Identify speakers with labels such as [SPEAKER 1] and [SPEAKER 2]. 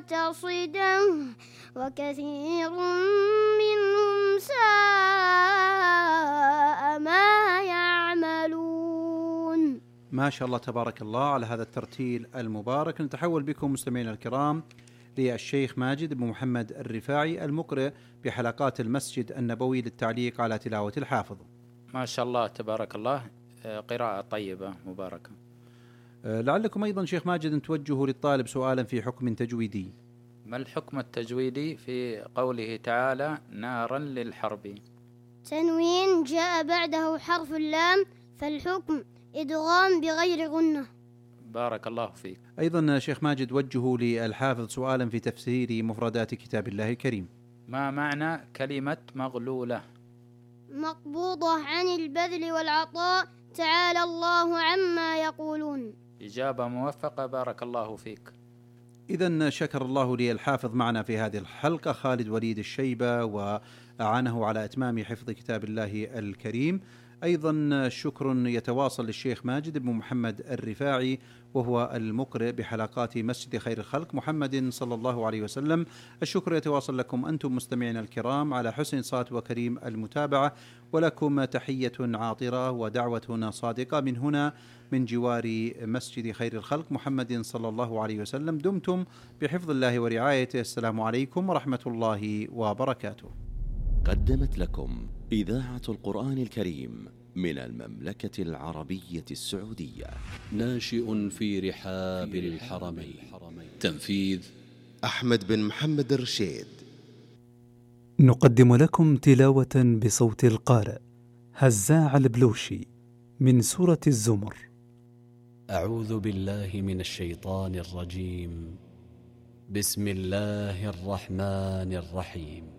[SPEAKER 1] مقتصدا وكثير منهم ساء ما يعملون.
[SPEAKER 2] ما شاء الله تبارك الله على هذا الترتيل المبارك. نتحول بكم مستمعينا الكرام للشيخ ماجد بن محمد الرفاعي المقرئ بحلقات المسجد النبوي للتعليق على تلاوة الحافظ.
[SPEAKER 3] ما شاء الله تبارك الله، قراءة طيبة مباركة.
[SPEAKER 2] لعلكم أيضا شيخ ماجد أن توجهوا للطالب سؤالا في حكم تجويدي.
[SPEAKER 3] ما الحكم التجويدي في قوله تعالى نارا للحرب؟
[SPEAKER 1] تنوين جاء بعده حرف اللام، فالحكم إدغام بغير غنة.
[SPEAKER 3] بارك الله فيك.
[SPEAKER 2] أيضا شيخ ماجد وجهوا للحافظ سؤالا في تفسير مفردات كتاب الله الكريم.
[SPEAKER 3] ما معنى كلمة مغلولة؟
[SPEAKER 1] مقبوضة عن البذل والعطاء، تعالى الله عما يقولون.
[SPEAKER 3] إجابة موفقة، بارك الله فيك.
[SPEAKER 2] إذن شكر الله لي الحافظ معنا في هذه الحلقة خالد وليد الشيبة، وأعانه على إتمام حفظ كتاب الله الكريم. أيضا شكر يتواصل للشيخ ماجد بن محمد الرفاعي وهو المقرئ بحلقات مسجد خير الخلق محمد صلى الله عليه وسلم. الشكر يتواصل لكم أنتم مستمعين الكرام على حسن صوت وكريم المتابعة، ولكم تحية عاطرة ودعوة صادقة من هنا من جوار مسجد خير الخلق محمد صلى الله عليه وسلم. دمتم بحفظ الله ورعايته. السلام عليكم ورحمة الله وبركاته.
[SPEAKER 4] قدمت لكم إذاعة القرآن الكريم من المملكة العربية السعودية.
[SPEAKER 5] ناشئ في رحاب الحرمين. تنفيذ
[SPEAKER 6] أحمد بن محمد الرشيد.
[SPEAKER 7] نقدم لكم تلاوة بصوت القارئ هزاع البلوشي من سورة الزمر.
[SPEAKER 5] أعوذ بالله من الشيطان الرجيم. بسم الله الرحمن الرحيم.